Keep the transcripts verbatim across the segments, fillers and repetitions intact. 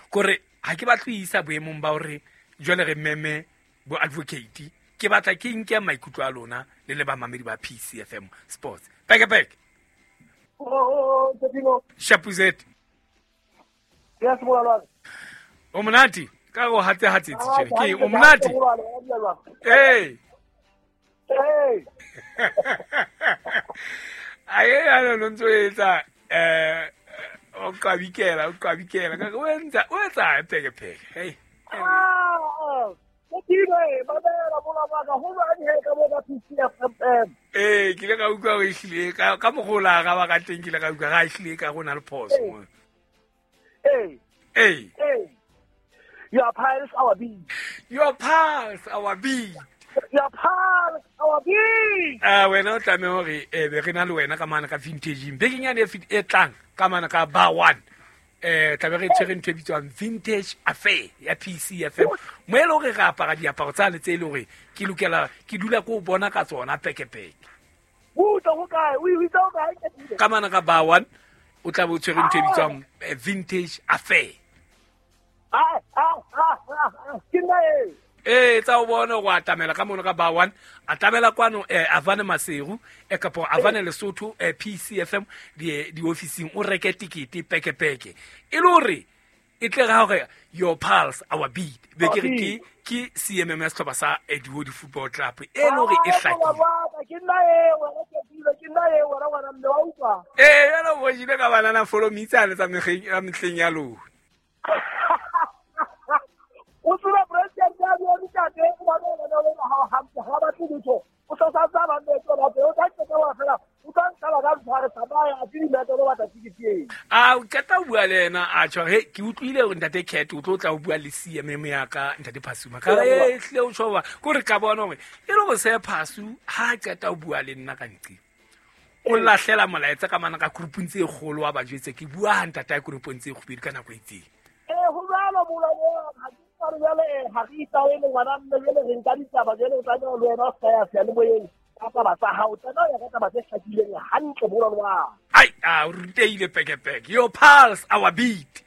Kore ha ke batle isa boemong ba hore jwale re meme bo advocate ke batla ke nke maikutlo a lona le le ba mamedi ba P C F M Sports. Peke peke. Oh, Tino. Shapuzet. Yes, molwana. O monate ka go hatse hatse tjhe ke o monate. Hey. Hey. Aye ana no ntso etsa eh o kabikela o kabikela ka o entsa o etsa peke peke. Hey. Ah. Tino, mamela molwana ka ho jwang he ka bona P C F M. Eh, ke le ka utlwa o ehlile ka ka mogola ga ba ka teng ke le ka utlwa ga ehlile ka go na le phoso mo. Hey. Hey. Hey. Your pulse our beat. Your pulse our beat. Your pulse our beat. Ah wena o tlameha hore eh be re na le wena ka mana ka vintage bekeng yane e tlang ka mana ka bar one. Eh tlabe re tshwere ntho e bitswang vintage affair ya P C F M. Mo e le hore re apara diaparo tsa le tse e le hore ke lokela ke dula ko bona ka tsona peke peke. Utlwa ho kae? O itse ho kae? Ka mana ka bar one o tlabe o tshwere ntho e bitswang vintage affair. Ah ah ah ke nna e. Eh tsa o bona go atamela ka mono ka bar one atamela kwano eh Avane Maseru e kapo Avane Lesotho eh P C F M di di officing o reke tikete peke peke e le hore e tle ga hore your pulse our beat be ke re ke ke C M M S tlhoba sa Edward Football Club e le hore e hlakile ke nna e wena ke dilo ke nna e wena wena mme wa utlwa eh yana bo jile ka banana follow me tsane tsa megeng ya mehleng ya lona o tseba president ya di ntate o ba bona le ha ha ha ba tlo o sa sa ba ba ba o tla qeta wa fela o tla ntsala ka tshware tsamaya a di mete lo batla tikete eng a o qeta o bua le ena a tjho he ke utlwile hore ntate Cat o tlo tla o bua le C M M ya ka ntate Phasuma ka e hle o tjho ba ko re ka bona hore e le go se Phasu ha qeta o bua le nna ka nqi o lahlela molaetsa ka mana ka groupung tse kgolo wa ba jwetse ke bua ha ntate a groupung tse kgobedi ka nako e itseng eh ho jwalo molao ha ke jwale ha re itaele ngwana mme jwale re nka ditaba jwale o tlameha le wena o ska ya seyalemoyeng ka taba tsa hao tsena o ya ka taba tse hlakileng hantle molwana wa ai a o ruteile peke peke your pulse our beat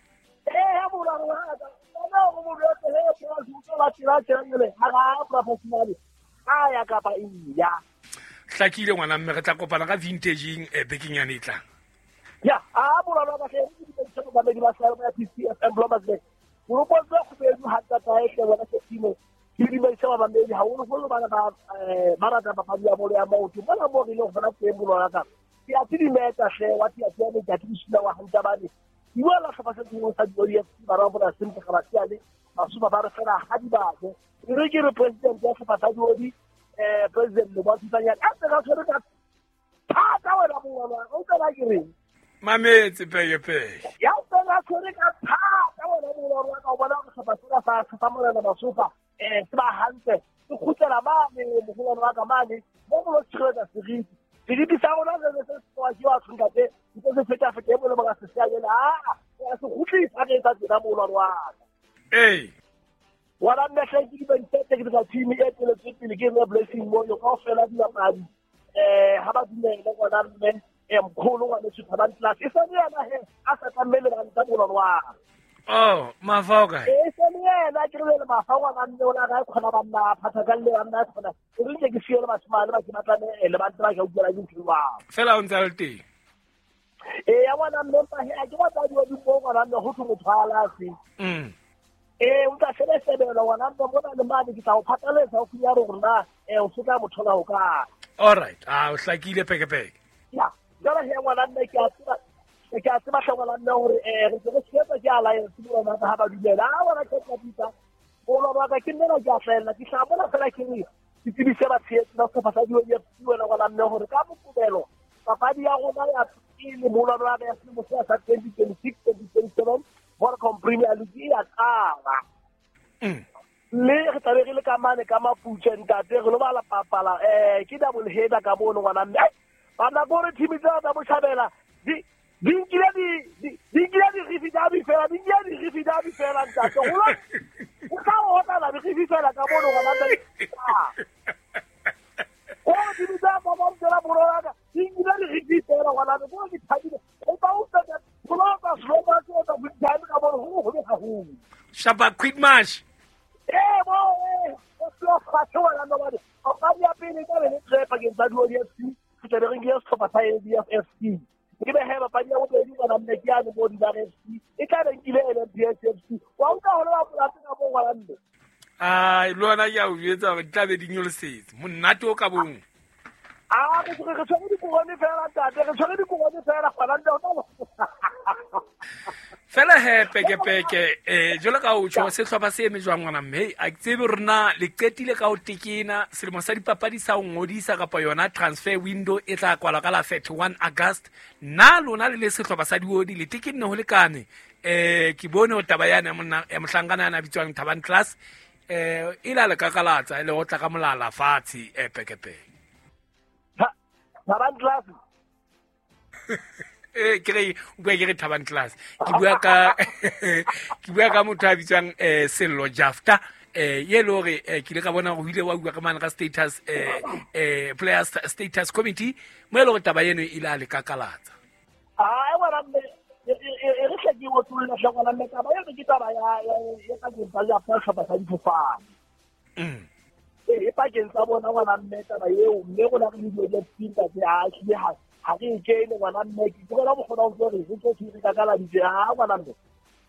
eh ha molwana wa ka tsena o mo jwetse he pulse o tla tshela tshela ha ga professional a ya kapa iya hlakile ngwana mme re tla kopana ka vintageng e bekeng yane e tlang ya a molwana wa ka ke di ba ba ba P C F M Blommers o go tlo go bedu ha tata e tle bona ke timo ke di ba ba bamedi ha o go bana ba ba rata papadi ya bolo ya maoto bona mo re le go bona teng bolwana ka ke a tsi meta hle wa ti a ti ne ke ti sila wa hanta ba ne iwa la tlhopa se tsengwe sa di F C ba ra bona sentle ga ba siale ba suba ba re fela ha di ba go re ke re president ya tlhopa sa di eh president lo ba tsanya a tsa tshwere ka thata wena bolwana o tla ba ke reng mametse peke peke ya tsena tshwere ka thata wena bolwana ka bona go tlhopa sena sa sa morena Masofa eh se ba hantle se khutlela mane mogolwane wa ka mane mo go tshireletsa seriti seriti sa rona se se se wa ke wa tshunka tse ntse se feta feta e bole ba se se yena a a se khutlisa re etsa tsena mogolwane wa ka eh wala nna hle ke di ba ntse ke tsa team e tsweletse pele ke nne blessing mo yo kaofela dibapadi eh ha ba dumele ngwana mme e mkholo ngwana Superman class e sa yena he a sa tlamele ba ntse mogolwane wa oh mafa o kae e se le yena ke re le mafa ngwana mme o la ga khona ba nna phatha ka le ba nna khona o re ke siyo le bashimane ba ke batlane le ba ntse ba ka utlwela ke ntho wa fela o ntse le teng e ya ngwana mme mpa he a ke batla di di mo ngwana mme ho thwe motho a lafe mm eh o tla sebesebela ngwana mme mona le mane ke tla o phatlaletsa o fiya rona eh o se tla mothola ho ka all right ah o hlakile peke peke ya jwale he ngwana mme ke a tseba ke a tseba hle ngwana mme hore eh re se re tshepa ke alliance mo rona ha ba dumela a bona ke tla bitsa bona ba ka ke nna ke a hlahella ke tla bona fela ke re ke tsebise ba tshehetsi ba sehlopha sa di F C wena ngwana mme hore ka Mokobelo papadi ya rona ya pele molwana wa ya selemo sa twenty twenty-six twenty twenty-seven Vodacom Premier League e ya qala mme re tlabe re le ka mane ka Maputswe ntate re lo bala papala eh ke double header ka mono ngwana mme bana gore team tsa tsa botjhabela di di nkile di di nkile di rifi dabi fela di nkile di rifi dabi fela ntate go lo o ka o tla la rifi fela ka mono ngwana mme o di tsa ba ba tsela borwa ka di nkile di rifi fela ngwana mme go ke thabile o ba o tla go lo ka slow ba tsa go ka mono go go haholo. haholo. Shapa quick match. Eh bo eh o tlo fatshe wena no bane. Papadi ya pele ka be le tre pakeng tsa Diodi F C, re tla be re nkile sehlopha sa L D F F C. Ke be he papadi ya bobedi ngwana mme ke yane mo Dibar F C, e tla be nkile L M P S F C. Wa utlwa hore ba polase ka bo ngwana mme. Ai le wena ke a o jwetsa hore di tla be di nyolosetse. Monate o ka bong. Ah, re re tshwere dikorone fela ntate, re tshwere dikorone fela ngwana mme. Fela he peke peke eh jwalo ka o tjho sehlopha se eme jwang ngwana mme a ke tsebe rona le qetile ka ho tekena selemo sa dipapadi sa ho ngodisa kapa yona transfer window e tla kwalwa ka la thirty-one August. Na lona le le sehlopha sa Diodi le tekenne ho lekane eh ke bone ho taba yana monna ya mohlankana yana bitswang Thabang Class eh e la le kakalatsa e le ho tla ka molala fatshe eh peke peke. Thabang Class eh ke re o bua ke re Thabang Class ke bua ka ke bua ka motho a bitswang eh Sello Jafta eh ye le hore ke ile ka bona hore o ile wa bua ka mane ka status eh eh player status committee mo e le hore taba eno e ile a le kakalatsa. Ah e wena mme e re hle ke o tlolla hle ngwana mme taba eno ke taba ya ya ka ke ba ya sehlopha sa difofane. Mm. E pakeng tsa bona ngwana mme taba eo mme rona re le Diodi F C ntate a hlile ha ha re kene ngwana mme ke bona bo kgona ho re re tlo re kakaladitse ha ngwana mme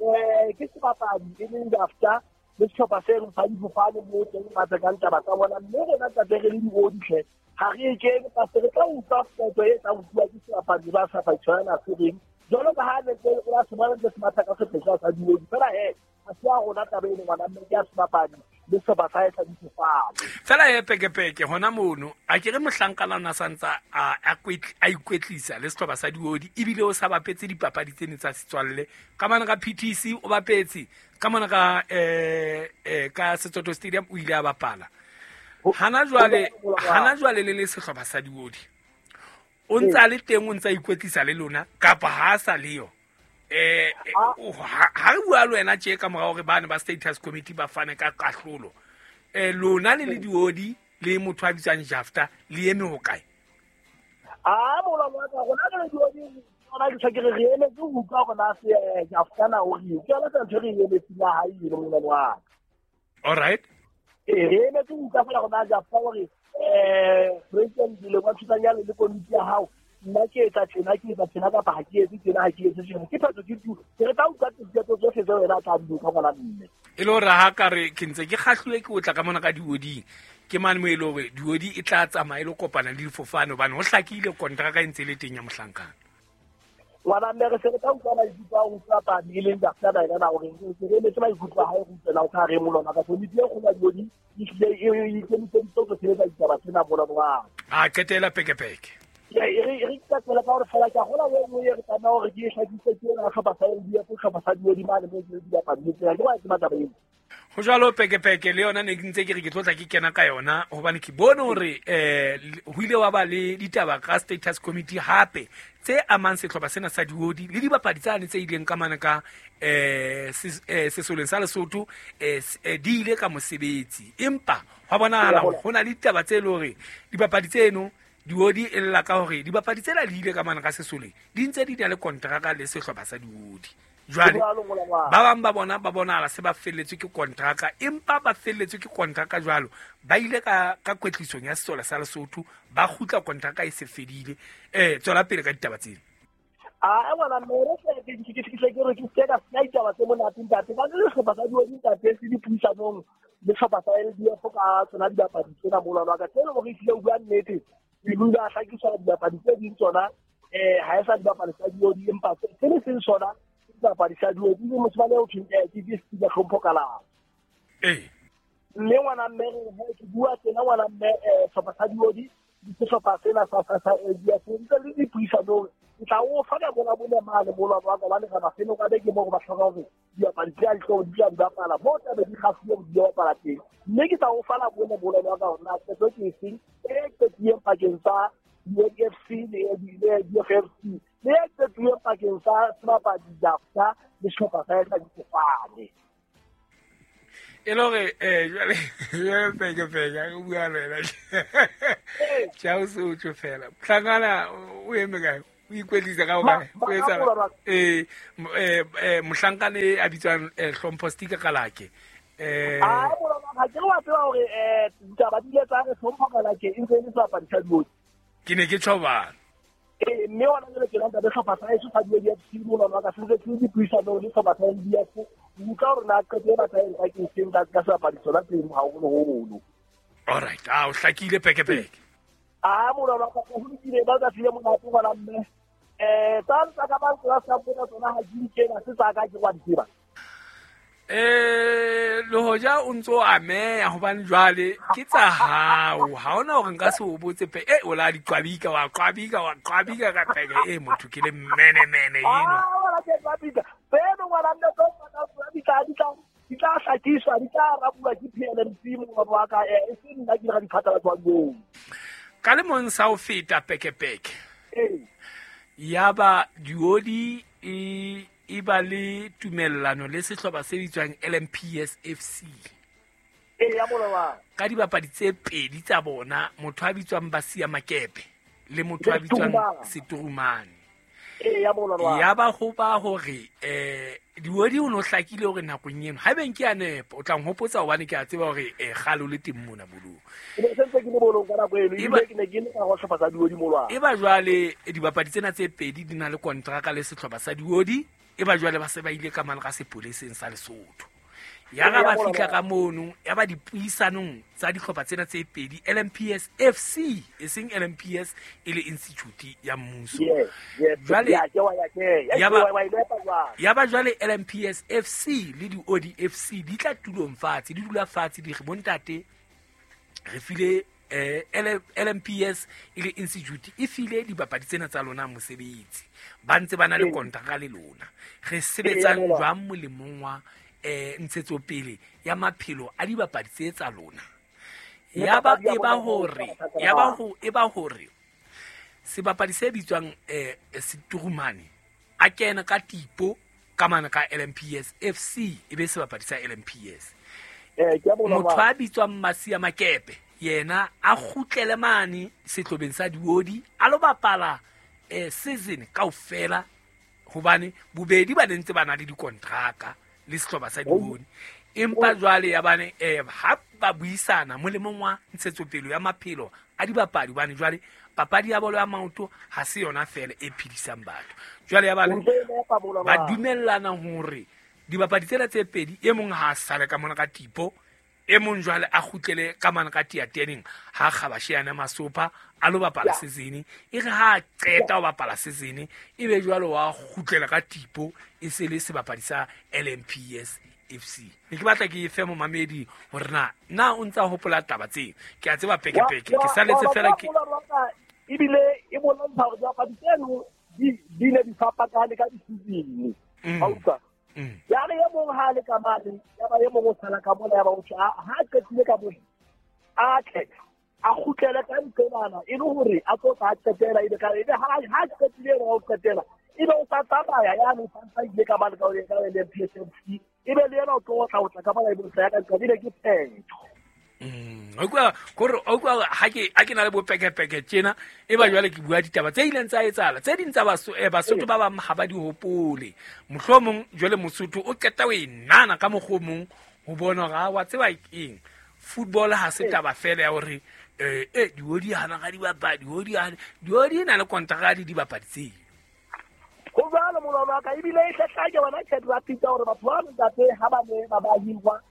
eh ke sebapadi e leng Jafta le sehlopha se re sa difofane mo teng ba tsekang taba tsa bona mme rona ntate re le Diodi hle ha re kene ka se re tla utlwa qeto e tla utlwa ke sebapadi ba sa fa tshwana se reng jwalo ka ha ne ke o se bona se matha ka sephesha sa Diodi fela he a se a rona taba eno ngwana mme ke a sebapadi le sehlopha sa sa difofane. Fela he peke peke hona mono a ke re mohlankana ona santsa a a ikwetlisa le sehlopha sa Diodi ebile o sa bapetse dipapadi tsene tsa setswalle ka mane ka P T C o bapetse ka mane ka eh eh ka Setsoto Stadium o ile a bapala. Hana jwale hana jwale le le sehlopha sa Diodi o ntsa le teng o ntsa ikwetlisa le lona kapa ha sa leyo eh ha re bua le wena tje ka mora hore bana ba status committee ba fane ka kahlolo eh lona le le Diodi le motho a bitswang Jafta le eme ho kae? Ah mola wa ka rona re le Diodi rona ke tshakere re emetse ho utlwa rona se Jafta na o re ke yona ntho re emetse la hae le mola wa. All right. Eh re emetse ho utlwa fela rona Jafta hore eh president le wa thusanyana le komiti ya hao nna ke etsa tjena ke etsa tjena kapa ha ke etse tjena ha ke etse tjena ke phatso ke tu ke re tla utlwa diphetho tsohle tseo wena tla di utlwa ngwana mme e le hore ha ka re ke ntse ke kgahluwe ke o tla ka mona ka Dioding ke mane mo e le hore Diodi e tla tsamaya e lo kopana le difofane hobane ho hlakile kontraka e ntse le teng ya mohlankana ngwana mme re se re tla utlwa maikutlo a ho utlwa padi e leng Jafta na yena hore re emetse maikutlo a hae re utlwela ho ka re molona ka komiti e kgolo ya Diodi e hlile e ikemiseditse ho sebetsa ditaba tsena molona wa a qetela peke peke. Re re ka tsela ka hore fela ke a gola e nngwe e re tlameha hore ke e hlakise ke yona sehlopha sa L D F sehlopha sa Diodi mane mo ke dibapadi tsena ke ba tseba taba eo. Ho jwalo peke peke le yona ne ke ntse ke re ke tlo tla ke kena ka yona hobane ke bone hore eh ho ile wa ba le ditaba ka status committee hape tse amang sehlopha sena sa Diodi le dibapadi tsane tse ileng ka mane ka eh sesoleng sa Lesotho eh di ile ka mosebetsi empa hwa bonahala ho na le ditaba tse le hore dibapadi tseno Diodi e lla ka hore dibapadi tsena di ile ka mane ka sesoleng di ntse di na le kontraka le sehlopha sa Diodi. Jwale ba bang ba bona ba bonahala se ba felletswe ke kontraka empa ba felletswe ke kontraka jwalo ba ile ka ka kwetlisong ya sesole sa Lesotho ba kgutla kontraka e se fedile. Eh tswela pele ka ditaba tsena. Ah ngwana mme re ke ke ke ke re ke se ka se ditaba tse monate ntate ba le sehlopha sa Diodi ntate se dipuisanong le sehlopha sa L D F ka tsona dibapadi tsena molwana wa ka tseno hore ehlile o bua nnete e bile a hlakisa dibapadi tse ding tsona eh ha e sa dibapadi tsa Diodi empa se le seng sona dibapadi tsa Diodi ke motho ba le o thweng ke ke se hlompho kalala. Eh mme ngwana mme re ke bua tsena ngwana mme eh sehlopha sa Diodi ke sehlopha sena sa sa sa L D F ntse le dipuisanong ke tla o fa ka bona bone mane molwana wa ka ba le ga mafelo ka beke mo go ba hloka hore dibapadi tse a di tlo di bapala mo tlabe di kgafuwe di bapala teng mme ke tla o fa la bone molwana wa ka hore na qeto ke efeng e qetuweng pakeng tsa U F C le U F F C le e qetuweng pakeng tsa sebapadi Jafta le sehlopha sa sa difofane. E le hore eh jwale peke peke a bua le wena tjha o se o tjho fela mohlankana o eme kae O ikwetlisa ka hokae? O etsa eh eh mohlankane a bitswang Hlompho Stika Kalake. Eh ah ha ke wa tseba hore eh ditaba di ile tsa re Hlompho Kalake e ntse e le sebapadi sa Diodi. Ke ne ke tjhobana. Eh mme ona jwale ke nna le hlopha sa heso sa Diodi F C mona wa ka se ntse ke dipuisano le hlopha sa N B F. Utlwa hore na qeto e batla eng ka ke seng ka ka sebapadi sona teng haholoholo. All right, ah o hlakile peke peke. Ah mona wa ka ho lokile ba ka file monate ngwana mme. Eh tsa tsa ka ba tsa sa bona tsona ha di kena se tsa ka ke wa di tseba. Eh le hoja o ntso ameya hobane jwale ke tsa hao ha ona hore nka se o botse pe eh o la di qwabika wa qwabika wa qwabika ka peke eh motho ke le mene mene eno. Ah wala ke qwabika peno ngwana mme tsa tsa qwabika di tla di tla hlakiswa di tla rabuwa ke P L M C mo wa ka eh se nna ke ga di phatlalatsa moo. Ka le mong sa o feta peke peke. Eh yaba Diodi e e ba le tumellano le sehlopha se bitswang L M P S F C. Eh ya molowa. Ka dibapadi tse pedi tsa bona, motho a bitswang Basia Makepe le motho a bitswang Seturumane. Eh ya molowa. Ya ba ho ba hore eh Diodi o no hlakile hore nakong eno ha beng ke a nepa o tla nhopotsa hobane ke a tseba hore eh kgale o le teng mona bolong. Ke ne sentse ke le bolong ka nako eno ebile ke ne ke le ka ho hlopha sa Diodi molwa. E ba jwale dibapadi tsena tse pedi di na le kontraka le sehlopha sa Diodi. E ba jwale ba se ba ile ka mane ka sepoleseng sa Lesotho. Ya ga ba fihla ka mono ya ba dipuisanong tsa dihlopha tsena tse pedi L M P S F C e seng L M P S e le institute ya mmuso. Jwale ya ba ya ba jwale L M P S F C le di O D F C di tla tulong fatshe di dula fatshe di re bontate re file eh L M P S e le institute e file dibapadi tsena tsa lona mosebetsi ba ntse ba na le kontraka le lona re sebetsang jwang molemong wa eh ntshetsopele ya maphelo a dibapadi tse tsa lona. Ya ba e ba hore ya ba ho e ba hore sebapadi se bitswang eh Seturumane a kena ka tipo ka mana ka L M P S F C e be sebapadi sa L M P S. Eh ke a bona motho a bitswang Masia Makepe yena a kgutlele mane sehlobeng sa Diodi a lo bapala eh season kaofela hobane bobedi ba ntse ba na le dikontraka le sehlopha sa Diodi empa jwale ya bane eh ha ba buisana molemong wa ntshetsopele ya maphelo a dibapadi bane jwale papadi ya bolo ya maoto ha se yona fela e phedisang batho jwale ya bane ba dumellana hore dibapadi tsena tse pedi e mong ha sale ka mona ka tipo e mong jwale a kgutlele ka mane ka tiateneng ha kgabashe yana masopa a lo bapala season e re ha qeta ho bapala season e be jwale wa kgutlela ka tipo e se le sebapadi sa L M P S F C. Ne ke batla ke fe momamedi hore na na o ntsa hopola taba tse ke a tseba peke peke ke saletse fela ke ebile e bontsha hore dibapadi tseno di di ne di fapakane ka di-season. Ha utlwa ya re e mong ha le ka mane ya ba e mong o sala ka mona ya ba o tjha ha qetile ka mona a tle a kgutlele ka nqebana e le hore a tlo tla qetela ebe ka ebe ha ha qetile o qetela ebe o tla tsamaya ya no sa ile ka mane ka o ka L M P S F C ebe le yena o tlo tla o tla ka mona ebe o sa ya ka nqebile ke phetho. Mm o kwa kore o kwa ha ke ha ke na le bopeke peke tjena e ba jwale ke bua ditaba tse ileng tsa etsahala tse ding tsa baso eh Basotho ba bang ha ba di hopole mohlomong jwale Mosotho o qeta o e nana ka mokgomong ho bona hore wa tseba eng football ha se taba fela ya hore eh eh Diodi hana ga dibapadi Diodi hana Diodi na le kontraka di dibapadi tse ho jwalo molwana ka ebile e hlahlake wena chat rapid hore batho ba ntate ha ba ne ba ba hirwa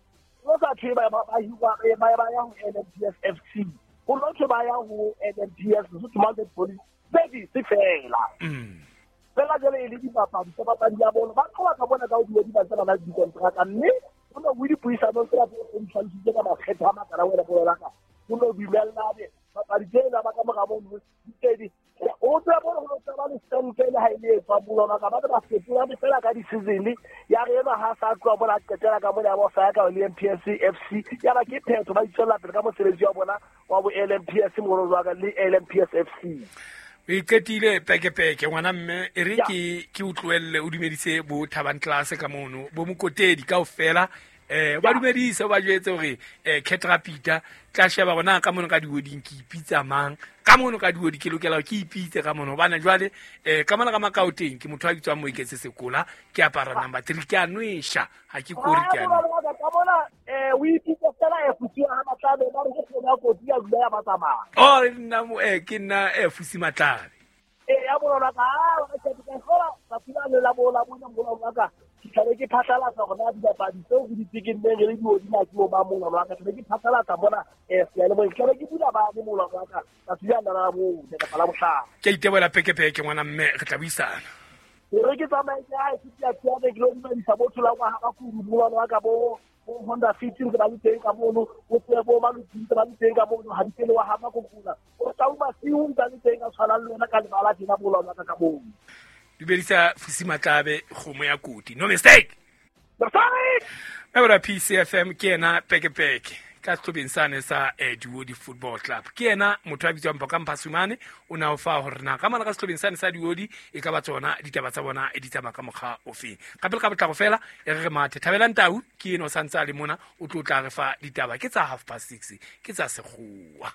o sa thwe ba ba hirwa ba ba ya ho L M P S F C ho lo thwe ba ya ho L M P S Lesotho Mounted Police Service fela fela jwale e le dibapadi tsa papadi ya bolo ba tloha ka bona ka ho Diodi ba tsena ba dikontraka mme ho no ho dipuisano tsena tse di tlhalositse ka makgetho a makala wena bolo la ka ho no dumellane papadi tsena ba ka mora mono di tedi o tseba bona ho tseba le stempe le ha ile e tswa bolona ka ba ba fetola fela ka di-season ya re ena ha sa tloha bona qetela ka mona ya ba sa ya ka L M P S F C ya ba ke phetho ba itswella pele ka mosebetsi wa bona wa bo L M P S moro wa ka le L M P S F C. O iqetile peke peke ngwana mme e re ke ke utloelle o dumedise bo Thabang Class ka mono bo Mokotedi kaofela Eh ba dumedise ba jwetse hore eh Ketrapita tla sheba rona ka mono ka dioding ke ipitsa mang ka mono ka diodi ke lokela ke ipitse ka mono hobane jwale eh ka mona ka makaoteng ke motho a bitswang Moiketse Sekola ke apara number three ke a nwesha ha ke kore ke a ka mona eh o ipitse fela e fusi ha Matlabe ba re ke kgona kotsi ya dula ya ba tsamaya. Oh nna eh ke nna eh Fusi Matlabe. Eh ya bona ka ha ke ka khola ka pula le la bola bona bona ka ke tlabe ke phatlalatsa hore na dibapadi tseo re di tsekenneng re le diodi na ke bo ba mona wa ka tlabe ke phatlalatsa mona eh seyalemoyeng tlabe ke bula ba le mona wa ka tsatsi la la bo ka la bohlano. Ke iteboela pekepeke ngwana mme re tla buisana. Re ke tsamaye ke ha ke tla tla ke lo dumedisa botho la ngwa ga kuru mona wa ka bo Honda Fit ntse ba le teng ka mono o tsebe bo Maluti ntse ba le teng ka mono ha dipele wa hama kokula o tla uma siu ntse le teng ka tshwana le wena ka lebala tjena bola wa ka ka mono. Dumedisa Fusi Matlabe kgomo ya koti no mistake. Ebra P C F M ke ena pekepeke ka sehlobeng sane sa eh, Diodi Football Club. Ke ena motho a bitswang Bokang Phasumane o na o fa hore na ka mona ka sehlobeng sane sa Diodi e ka ba tsona ditaba tsa bona e di tsamaya ka mokgwa ofeng. Ka pele ka botlako fela e re re mathe Thabelang Tau ke eno santse a le mona o tlo tla re fa ditaba ke tsa half past six ke tsa sekgowa.